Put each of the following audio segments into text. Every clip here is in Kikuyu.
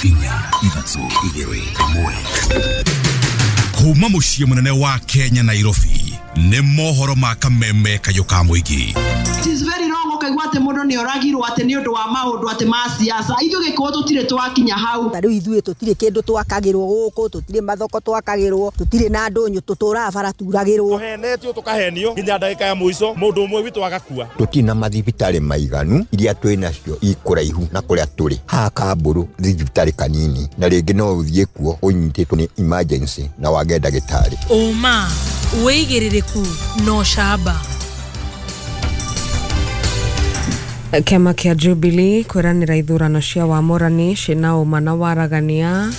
4 3 2 1. Kuma muciĩ mũnene wa Kenya Nairobi nĩ mohoro ma kameme kayũ ka mũingĩ. It is very wrong ũkaigua atĩ mũndũ nĩ oragirwo atĩ nĩ ũndũ wa maũndũ atĩ ma siasa. Ithuĩ gĩkũyũ tũtirĩ twakinya hau. Ta rĩu ithuĩ tũtirĩ kĩndũ twakagĩrwo gũkũ, tũtirĩ mathoko twakagĩrwo, tũtirĩ na ndũnyũ, tũtũraga bara turagĩrwo. Tũhenetio tũkahenio nginya ndagĩka ya mũico mũndũ ũmwe witũ agakua. Tũtirĩ na mathibitarĩ maiganu, iria twĩ nacio ikũraihu na kũrĩa tũrĩ. Haha Kambũrũ thibitarĩ kanini na rĩngĩ no ũthiĩ kuo ũnyitĩtwo nĩ emergency na wage ndagĩtarĩ. Ũma, wĩigĩrĩrĩku na ũcamba. Kĩama kĩa Jubilee kwĩranĩra ithurano cia wamũrani ciĩna ũma na waragania.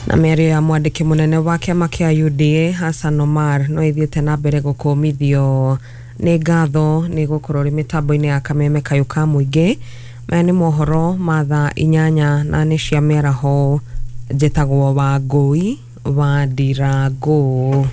Na mĩario ya mwandĩki mũnene wa kĩama kĩa UDA Hassan Omar no ĩthiĩte na mbere gũkũmithio. Nĩ ngatho nĩ gũkorwo rĩ mĩtambo-inĩ ya kameme kayũ ka mũingĩ. Maya nĩ mohoro ma thaa 8 na nĩ cia mĩaraho. Njĩtagwo Wangũi wa Ndirangũ.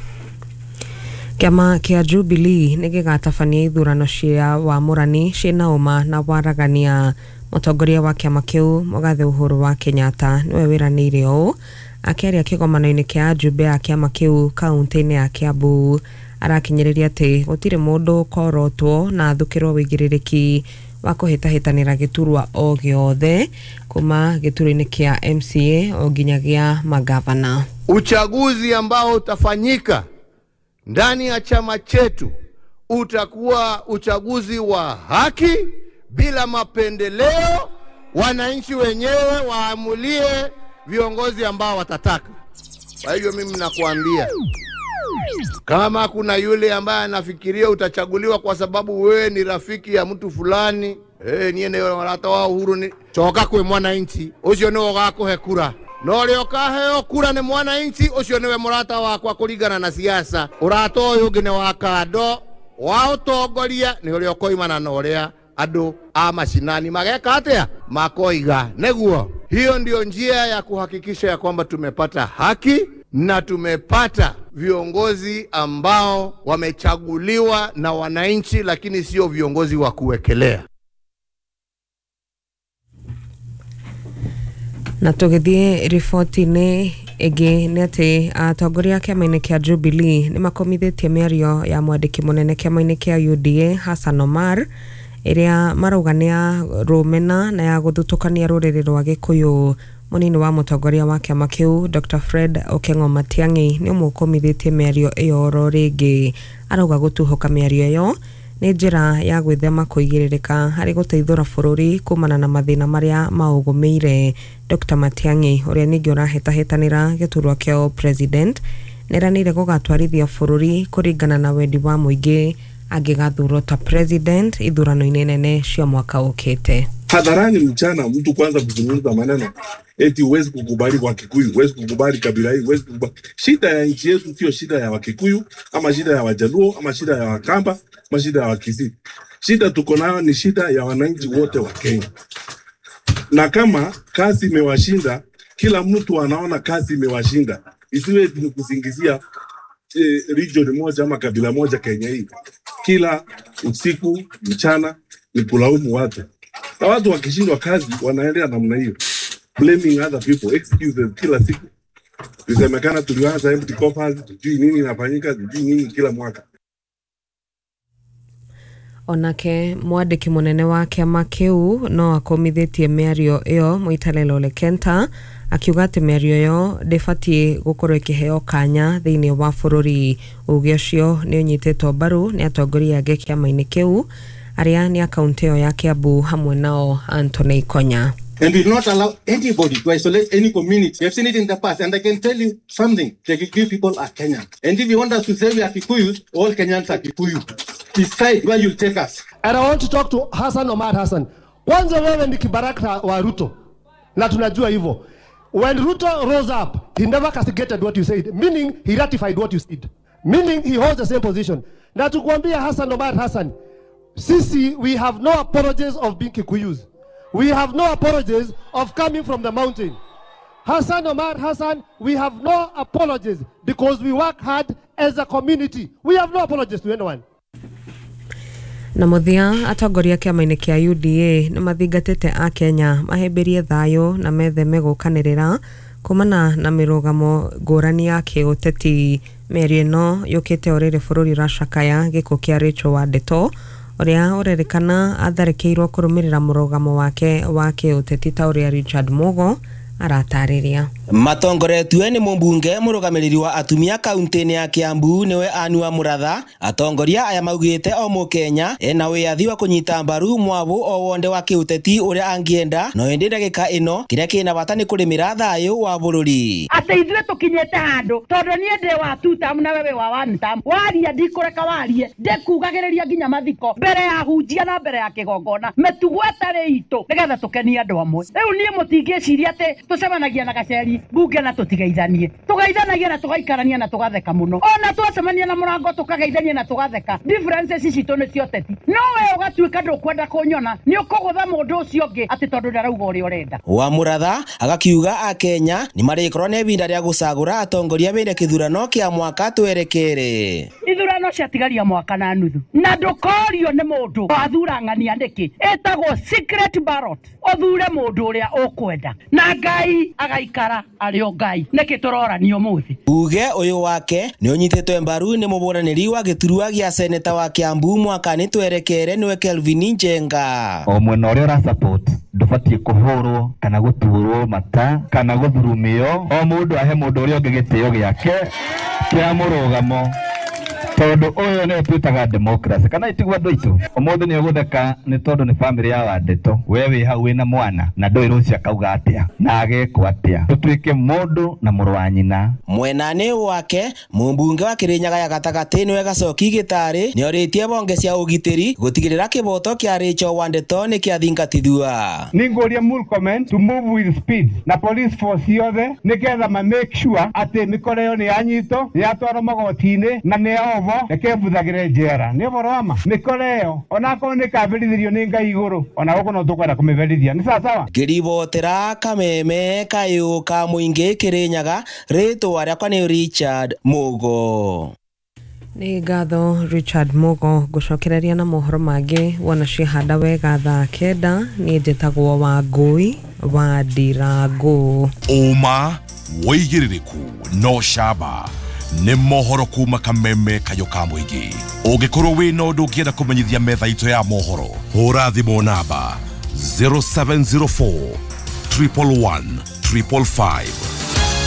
Kĩama kĩa Jubilee nĩ gĩgatabania ithurano cia wamũrani ciĩna ũma na waragania. Mũtongoria wa kĩama kĩu Mũgathe Uhuru wa Kenyatta nĩwe wĩranĩire ũũ akĩaria kĩgomano-inĩ kĩa ajumbe a kĩama kĩu kaunti-inĩ ya Kiambu. Arakinyĩrĩria atĩ gũtirĩ mũndũ ũkorotwo na athukĩrwo wĩigĩrĩrĩki wa kũhĩtahĩtanĩra gĩturwa o gĩothe kuma gĩturwa-inĩ kĩa MCA o nginya gĩa magavana. Uchaguzi ambao utafanyika ndani ya chama chetu utakuwa uchaguzi wa haki bila mapendeleo. Wananchi wenyewe waamulie viongozi ambao watataka. Kwa hivyo mimi nakuambia, kama kuna yule ambaye anafikiria utachaguliwa kwa sababu wewe ni rafiki ya mtu fulani, niye ni warata wa Uhuru ni choka kwe mwananchi ucio ni ugakuhe kura. No rĩo kaheo kura nĩ mwananchi ũcio nĩwe mũrata wakwa kũringana na siasa. Ũrata ũyũ ũngĩ nĩ wa kando wa ũtongoria nĩ ũrĩa ũkoimana na ũrĩa andũ a mashinani mageka atĩa makoiga. Nĩguo hiyo ndio njia ya kuhakikisha ya kwamba tumepata haki na tumepata viongozi ambao wamechaguliwa na wananchi, lakini sio viongozi wa kuwekelea. Na tũgĩthiĩ riboti-inĩ ĩngĩ nĩ atĩ atongoria kĩama-inĩ kĩa Jubilee nĩ makomithĩtie mĩario ya mwandĩki mũnene kĩama-inĩ kĩa UDA Hassan Omar ĩrĩa marauga nĩ ya rũmena na ya gũthutũkania rũrĩrĩ rwa Gĩkũyũ. Mũnini wa mũtongoria wa kĩama kĩu Dr. Fred Okengo Matiang'i nĩ ũmwe ũkomithĩtie mĩario ĩyo oro rĩngĩ. Arauga gũtuhũka mĩario ĩyo nĩ njĩra ya gwĩthema kũigĩrĩrĩka harĩ gũteithũra bũrũri kumana na mathĩna marĩa maũgũmĩire. Dr. Matiang'i ũrĩa ningĩ ũrahĩtahĩtanĩra gĩturwa kĩa president nĩeranĩire gũgatwarithia bũrũri kũringana na wendi wa mũingĩ angĩgathurwo ta president ithurano-inĩ nene cia mwaka ũkĩte. Hadharani mchana mtu kwanza kuzungumza maneno eti huwezi kukubali Wakikuyu, huwezi kukubali kabila hii, huwezi kukubali. Shida ya nchi yetu sio shida ya Wakikuyu ama shida ya Wajaluo ama shida ya Wakamba ama shida ya Wakisii. Shida tuko nayo ni shida ya wananchi wote wa Kenya. Na kama kazi imewashinda, kila mtu anaona kazi imewashinda. Isiwe ni kusingizia region moja ama kabila moja Kenya hii. Kila usiku mchana ni kulaumu watu. Na watu wakishindwa kazi wanaendelea namna hiyo, blaming other people, excuses kila siku. Isemekana tulianza empty coffers, tujui nini inafanyika, tujui nini kila mwaka. Onake mwandĩki mũnene wa kĩama kĩu no akomithĩtie mĩario ĩyo Mũitalelo Ole Kenta akiuga atĩ mĩario ĩyo ndĩbatiĩ gũkorwo ĩkĩheo kanya thĩinĩ wa bũrũri. Uge ũcio nĩ ũnyitĩtwo mbaru nĩ atongoria angĩ kĩama-inĩ kĩu arĩa nĩ a kaunti ĩyo ya Kiambu hamwe nao Anthony Konya. And we will not allow anybody to isolate any community. We have seen it in the past, and I can tell you something. The Kikuyu people are Kenyan. And if you want us to say we are Kikuyus, all Kenyans are Kikuyu. Decide where you'll take us. And I want to talk to Hassan Omar Hassan. Kwanza wewe ni kibaraka wa Ruto. Na tunajua hivyo. When Ruto rose up, he never castigated what you said, meaning he ratified what you said. Meaning he holds the same position. Na tukwambia Hassan Omar Hassan, sisi, we have no apologies of being Kikuyus. We have no apologies of coming from the mountain. Hassan Omar Hassan, we have no apologies because we work hard as a community. We have no apologies to anyone. Na mũthia, atongoria kĩama-inĩ kĩa UDA nĩ mathingatĩte akenya mahĩmbĩrie thayũ na metheme gũkanĩrĩra kumana na mĩrũgamo ngũrani ya kĩũteti. Mĩario ĩno yũkĩte o rĩrĩ bũrũri ũracakaya gĩkuũ kĩa Rachel Wandeto, ũrĩa ũrerĩkana atharĩkĩirwo kũrũmĩrĩra mũrũgamo wake wa kĩũteti, ta ũrĩa Richard Mugo aratarĩria. Matongoretue nĩ mũmbunge mũrũgamĩrĩri wa atumia kaunti-inĩ ya Kiambu, nĩwe Anua Muratha. Atongoria aya maugĩte o mũkenya ena wĩyathi wa kũnyita mbaru mwabũ o wonde wa kĩũteti ũrĩa angĩenda, no ĩndĩ ndagĩka ĩno kĩrĩa kĩna bata nĩ kũrĩmĩra thayũ wa bũrũri. Atĩ ithuĩ tũkinyĩte handũ tondũ niĩ ndĩ wa two term na wewe wa one term, waria ndikũreka warie, ndĩkugagĩrĩria nginya mathiko mbere ya hunjia na mbere ya kĩgongona, mĩtugo ĩtarĩ itũ nĩgetha tũkenie andũ amwe. Rĩu niĩ mũtingĩciria atĩ tũcemanagia na gaceri mbunge na tũtigeithanie, tũgeithanagia na tũgaikarania na tũgatheka mũno, ona twacemania na mũrango tũkageithania na tũgatheka. Differences citũ nĩ cia ũteti, no we ũgatuĩka ndũkwenda kũnyona, nĩ ũkũgũtha mũndũ ũcio ũngĩ atĩ tondũ ndarauga ũrĩa ũrenda. Wa Muratha agakiuga akenya nĩ marĩkorwo na ihinda rĩa gũcagũra atongoria bĩrĩ kĩthurano kĩa mwaka twerekere. Ithurano ciatigaria mwaka na nuthu, na ndũkorio nĩ mũndũ wathura ng'ania nĩkĩ, ĩtagwo secret ballot, ũthure mũndũ ũrĩa ũkwenda na Ngai agaikara arĩ o Ngai. Nĩkĩ tũrorania ũmũthĩ? Uge ũyũ wake nĩ ũnyitĩtwe mbaru nĩ mũbũranĩri wa gĩturwa gĩa seneta wa Kiambu mwaka-inĩ twerekere, nĩwe Kelvin Njenga. O mwena ũrĩa ũra support ndũbatiĩ kũhũrwo kana gũturwo mata kana gũthurumio, o mũndũ ahe mũndũ ũrĩa ũngĩ gĩtĩo gĩake kĩa mũrũgamo, tondũ ũyũ nĩwe twĩtaga democracy. Kana itiguo andũ aitũ? Ũmũthĩ nĩ ũgũtheka nĩ tondũ nĩ bamĩrĩ ya Wandeto, we wĩ hau wĩna mwana na ndũĩ rũciũ akauga atĩa na agekwo atĩa. Tũtuĩke mũndũ na mũrũ wa nyina. Mwenanĩ wake mũmbunge wa Kĩrĩnyaga ya gatagatĩ nĩwe Gacoki Gĩtarĩ nĩorĩtie bonge cia ũgitĩri gũtigĩrĩra kĩboto kĩa Rachel Wandeto nĩ kĩathingatithua. Nĩngũria Murkomen to move with speed na police force yothe nĩgetha ma make sure atĩ mĩkora ĩyo nĩ yanyitwo, nĩ yatwarwo magoti-inĩ na nĩ yohwo, reke mbuthagĩre njera. Nĩ ũhoro wa ma mĩkora ĩyo onakorwo nĩ ĩkaberithĩrio nĩ Ngai igũrũ, ona gũkũ no tũkwenda kũmĩberithia. Nĩ sawa sawa. Ngĩribotera kameme kayũ ka mũingĩ Kĩrĩnyaga, rĩtwa rĩakwa nĩ Richard Mugo. Nĩ ngatho Richard Mugo. Ngũcokereria na mohoro mangĩ wona ciahanda wega thaa 9. Niĩ njĩtagwo Wangũi wa Ndirangũ. Ũma wĩigĩrĩrĩku no camba nĩ mohoro kuma kameme kayũ ka mũingĩ. Ũngĩkorwo wĩna ũndũ ũngĩenda kũmenyithia metha itũ ya mohoro, hũra thimũ namba 0704 111 555.